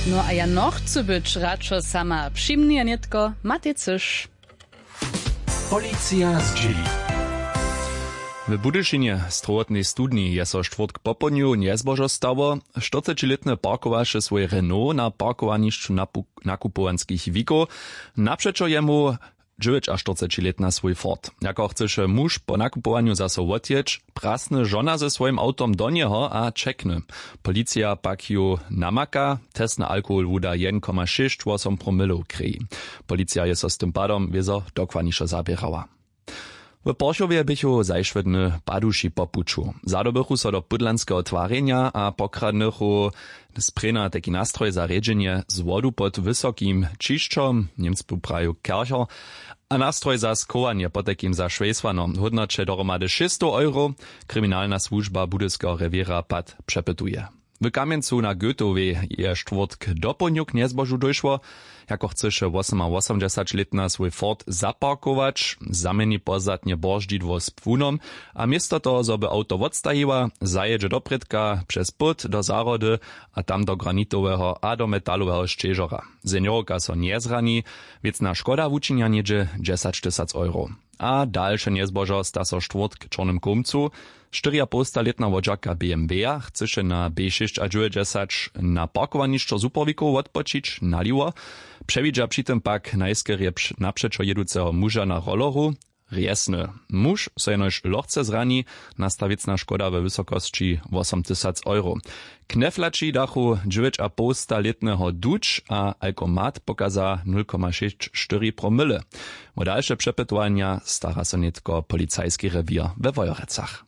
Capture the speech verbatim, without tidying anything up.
No a ja nochcu być radšo sama přimnije nětko matej cyš. Policija zdźěli. W budyšinje strowotnej studni je so štwórtk popołdnju njezbožo stało. Štyrcećilětny parkowaše swój renault na parkowanišću napu- nakupowanskich wikow. Napřećo jemu dźewjećaštyrcećilětna swój ford. Jako chcyše muž po nakupowanju zaso wotjěć, prasny žona ze swójim awtom do njeho a ćekny. Policija pak ju namaka. Test na alkohol wuda jedyn koma šěsć wosom promylow krěji. Policija je so z tym padom wězo dokładnišo zaběrała. W porchowje běchu zašłe dny paduši po puću. Zadobychu so do pudlanskeho twarjenja a pokradnychu sprěna tajki nastroj za rjedźenje z wodu pod wysokim ćišćom, němcu praju kercher, a nastroj za schowanje potajkim za šwejsłano w hódnoće dohromady šěsćstow euro. Kriminalna słužba budyskeho rewěra pad přepytuje. W kamjencu na goetowej je štwórtk dopołdnju k njezbožu dóšło. Jako chcyše wosomawosomdźesaćlětna swój ford zaparkować, zaměni pozdatnje bordźidło z płunom, a město toho zo by awto wotstajiła, zajědźe doprědka přez płód do zahrody a tam do granitoweho a do metaloweho šćežora. Seniorka so njezrani. Wěcna škoda wučinja něhdźe dźesaćtysac euro. A dalše njezbožo sta so štwórtk w čornym kołmcu. Štyriapołstalětna wodźerka bmw-a chcyše na b šěsćadźewjećdźesać na parkowanišćo zupowikow wotpočić naliwo. Přewidźa při tym pak najskerje napřećo jěduceho muža na rolleru. Rjesny. Muž so jenož lochce zrani. Nasta wěcna škoda we wysokosći wosomtysac euro. Kneflaći dachu dźewjećapołstalětneho duć a alkomat pokaza nul koma šěsć štyri promyle. Wo dalše přepytowanja stara so nětko policajski rewěr we wojerecach.